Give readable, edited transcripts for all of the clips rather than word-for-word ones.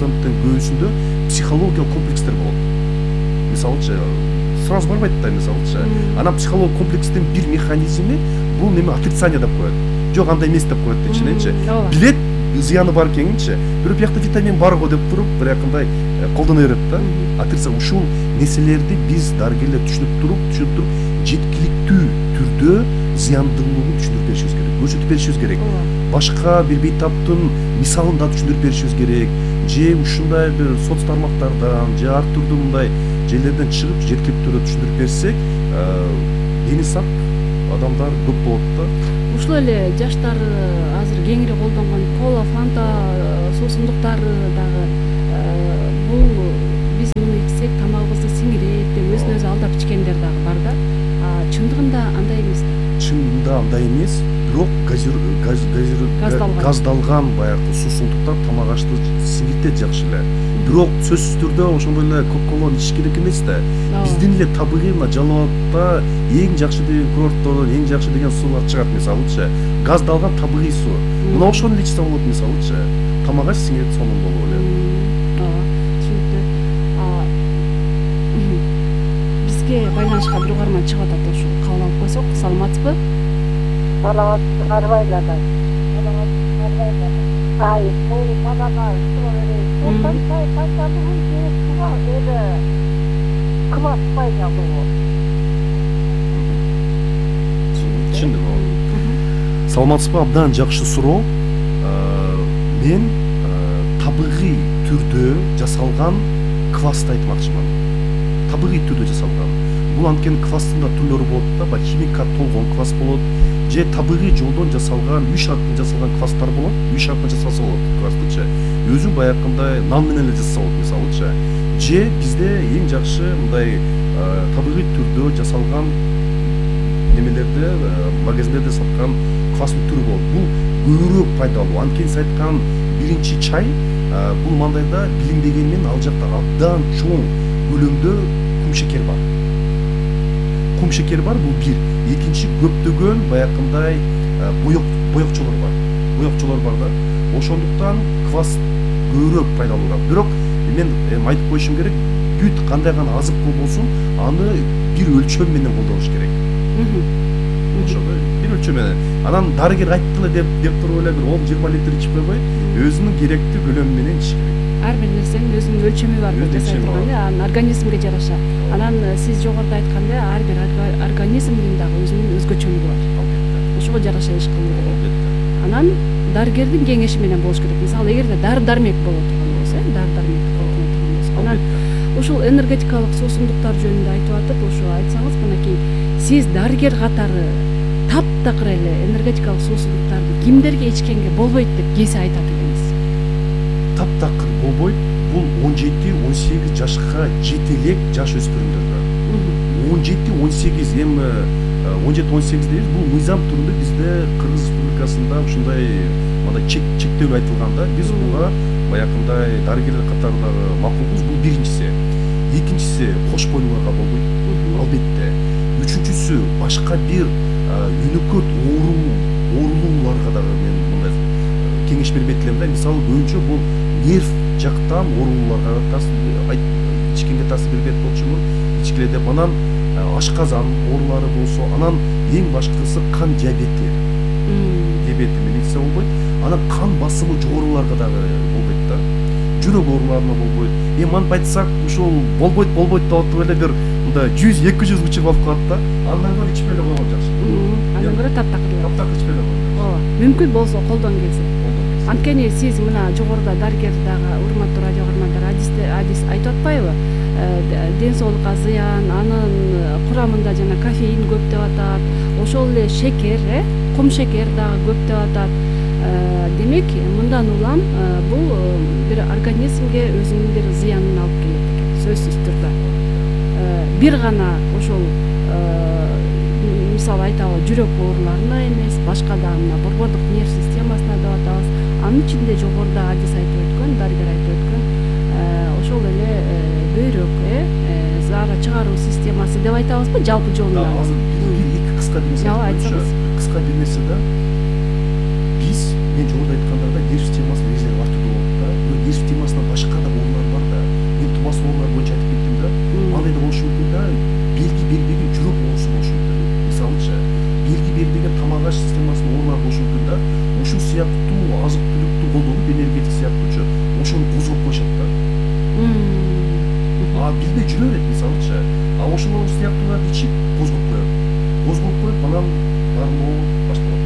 көбүсүндө психологиялык комплекстер болот. Мисалычы сразу барбайт да, мисалычы анан психологиялык комплекстин бир механизми бул неме отрицание деп коет. Жок, андай эмес деп коет ичиненчи. Билет зыяны бар экенинчи, бирок биякта витамин бар го деп туруп биякындай колдоно берет да. Отрицание ушул нерселерди биз дарыгерлер түшүнүп туруп жеткиликтүү түрдө зыяндуулугун түшүндүрүп беришибиз керек, көрсөтүп беришибиз керек. Башка бир бейтаптын мисалын да түшүндүрүп беришибиз керек. Же ушундай бир соц тармактардан, же ар түрдүү мындай жерлерден чыгып жеткиликтүү түрдө түшүндүрүп берсек, дени сак адамдар көп болот да. Ушул эле жаштар азыр кеңири колдонгон кола, фанта суусундуктары дагы бул биз муну ичсек тамагыбызды сиңирет деп өзүн өзү алдап ичкендер дагы бар да. Чындыгында андай эмес да. Чындыгында андай эмес, бирок газдалган баягы суусундуктар тамак ашты сиңиртет жакшы эле. Бирок сөзсүз түрдө ошондой эле кока-коланы ичиш керек эмес да. Биздин эле табигый мына Жалал Абадда эң жакшы деген курорттордон эң жакшы деген суулар чыгат, мисалычы газдалган табигый суу. Мына ошону эле ичсе болот, мисалычы тамак аш сиңирет сонун болуп эле. Түшүнүктүү. Бизге байланышка бир угарман чыгып атат, ошол кабыл алып койсок. Саламатсызбы? Саламатсыз, арбайлардан. Ай, бул балага Саламатсызбы? Абдан жакшы суроо. Мен табигый түрдө жасалган квасты айтмакчымын. Табигый түрдө жасалган. Бул анткени квастын да түрлөрү болот да, баягы химикат толгон квас болот, же табигый жолдон жасалган, үй шарттан жасалган квастар болот. Үй шарттан жасалса болот квастычы. Өзү баягындай нан менен эле жасаса болот, мисалычы. Же бизде эң жакшы мындай табигый түрдө жасалган немелерде, магазиндерде саткан квастын түрү болот. Бул көбүрөөк пайдалуу. Анткени сиз айткан биринчи чай бул мандайда билинбегенмен ал жакта абдан чоң көлөмдө кумшекер бар. Кумшекер бар, бул бир. Экинчи, көптөгөн баягындай боекчолор бар. Боекчолор бар да. Ошондуктан квас көбүрөөк пайдалуураак. Бирок мен айтып коюшум керек, бүт кандай гана азык болбосун, аны бир өлчөм менен колдонуш керек. Ошондой бир өлчөм менен. Анан дарыгер айтты эле деп туруп эле бир 10-20 литр ичип койбой, өзүнүн керектүү көлөмү менен ичиш керек. Ар бир нерсенин өзүнүн өлчөмү бар деп жасай турган, анын организмге жараша. Анан сиз жогоруда айткандай, ар бир организмдин дагы өзүнүн өзгөчөлүгү бар. Ошого жараша иш кылуу керек. Анан дарыгердин кеңеши менен болуш керек. Мисалы, эгерде дары-дармек боло турган болсо, дары-дармек колдоно турган болсо, анан ушул энергетикалык суусундуктар жөнүндө айтып атып, ошо айтсаңыз, мынакей сиз дарыгер катары таптакыр эле энергетикалык суусундуктарды кимдерге ичкенге болбойт деп кээсе айтат экенсиз. Таптакыр болбойт. Бул 17-18 жашка жете элек жаш өспүрүмдөргө. 17-18 эми 17-18 дейбиз. Бул мыйзам түрүндө бизде Кыргыз Республикасында ушундай мындай чектөө айтылганда, биз буга баягындай дарыгерлер катарындагы макулбуз. Бул биринчиси. Экинчиси, кош бойлууларга болбойт. Албетте. Үчүнчүсү, башка бир өнөкөт оорулууларга дагы мен мындай кеңеш бербейт элем да. Мисалы көбүнчө бул нерв жактан оорулууларга ичкенге таасир бербейт болчумун, ичкиле деп. Анан ашказан оорулары болсо, анан эң башкысы кан диабети. Диабети менен ичсе болбойт. Анан кан басымы жогоруларга дагы болбойт да. Жүрөк ооруларына болбойт. Эми антип айтсак, ушул болбойт деп атып эле бир мындай 100-200 учур алып калат да. Андан көрө ичпей эле койгон жакшы. Андан көрө таптакыр ичпей эле койгон. Ооба, мүмкүн болсо колдон келсе. Анткени сиз мына жогоруда дарыгер дагы, урматтуу радио каармандар, адис айтып атпайбы? Ден соолукка зыян, анын курамында жана кофеин көп деп атат, ошол эле шекер, кум шекер дагы көп деп атат. Демек, мындан улам бул бир организмге өзүнүн бир зыянын алып келет экен, сөзсүз түрдө. Бир гана ошол мисалы айталы жүрөк ооруларына эмес, башка дагы мына борбордук нерв системасына деп атабыз. Анын ичинде жогоруда адис айтып өткөн, дарыгер айтып өткөн, ошол эле бөйрөк, заара чыгаруу системасы деп айтабызбы, жалпы жолунда. Азыр эки кыска бир нерсе айтсаңыз. Кыска бир нерсе да. Биз мен жогоруда айткандагы нерв системасы резервуар түрдө болот да. нерв системасына башка да оорулар бар да. Мен тубас оорулар боюнча айтып кеттим да. Андай да болушу мүмкүн да. Белги бербеген жүрөк оорусу болушу мүмкүн. Мисалычы, белги бербеген тамак аш системасынын оорулары болушу мүмкүн да. Ушул сыяктуу азык түлүктү колдонуп, энергетик сыяктуучу ошону козгоп коюшат да. Билбей жүрө берет мисалычы. Ошол сыяктууларды ичип козгоп коет. Козгоп коюп, анан баарлоо башталат.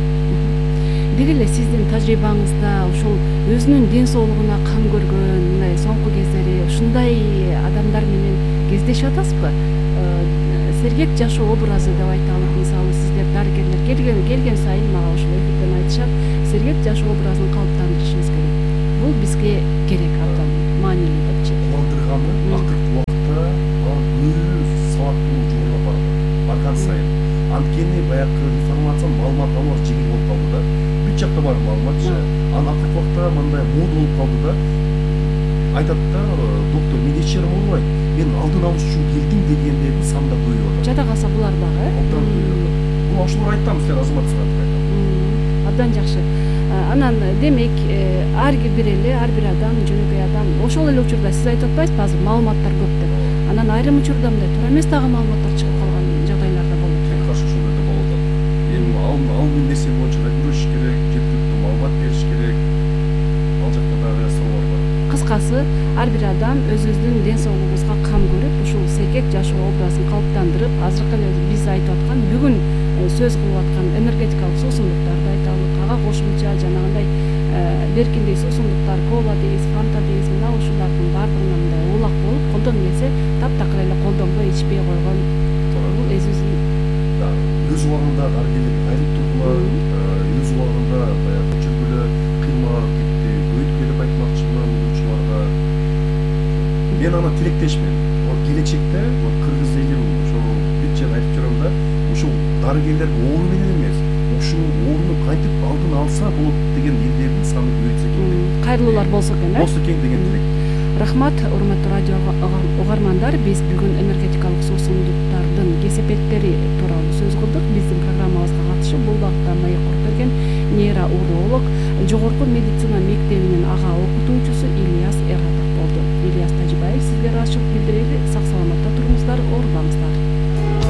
Деги эле сиздин тажрыйбаңызда ошол өзүнүн ден соолугуна кам көргөн мындай соңку кездери ушундай адамдар менен кездешип атасызбы? Сергек жашоо образы деп айталы. Мисалы сиздер дарыгерлер келген сайын мага ошол эфирден айтышат, сергек жашоо образын калыптандырышыбыз керек. Бул бизге керек, абдан маанилүү депчи. Кубандырганы акыркы убакытта көбү сабаттуу жогорулап барат. Барган сайын. Анткени баягы информация, маалымат алуу жеңил болуп калды да. Бүт жакта бар маалыматчы. Анан акыркы убакта мындай мода болуп калды да. Айтат да, доктор, мен эч жерим оорубайт. Мен алдын алыш үчүн келдим дегендердин саны да көбөйүп атат. Жада калса булар дагы. Абдан көбөйүп атат. Бул ошолор айттым, силер азаматсыңар деп айтам. Абдан жакшы. Анан демек ар бир адам, жөнөкөй адам ошол эле учурда сиз айтып атпайсызбы азыр маалыматтар көп деп. Анан айрым учурда мындай туура эмес дагы маалыматтар чыгып калган жагдайлар да болот. Тек каршы ошондой да болуп атат. Эми ал нерсе боюнча да күрөшүш керек, жеткиликтүү маалымат бериш керек. Ал жакта дагы суроолор бар. Кыскасы, ар бир адам өзүбүздүн ден соолугубузга кам көрүп, ушул сергек жашоо образын калыптандырып, азыркы эле биз айтып аткан бүгүн сөз кылып аткан энергетикалык суусундуктарды айталык, ага кошумча жанагындай беркиндей суусундуктар, кола дейбиз, фанта дейбиз, мына ушулардын баардыгына мындай улак болуп, колдон келсе таптакыр эле колдонбой ичпей койгон. Бул өзүбүздүн өз убагында дарыгерлерге айрылып турдулар, өз убагында баягы көчөргөлө кыймал кетти, өйткөлөп айтмакчымын ушуларга. Мен аны тилектешмин. Келечекте кыргыз элим ошол бүт жер айтып жүрөм да, ушул дарыгерлер оору менен эмес, ушул ооруну кантип алдын алса болот деген элдердин саны көбөйтсө экен. Кайрылуулар болсо экен, Болсо экен деген тилек. Рахмат, урматтуу радио угармандар. Биз бүгүн энергетикалык суусундуктардын кесепеттери тууралуу сөз кылдык. Биздин программабызга катышып, бул багытта маек куруп берген нейроуролог, жогорку медицина мектебинин ага окутуучусу Ильяс Эратов болду. Ильяс Тажибаев сизге ыраазычылык билдирели. Сак саламатта туруңуздар, оорубаңыздар.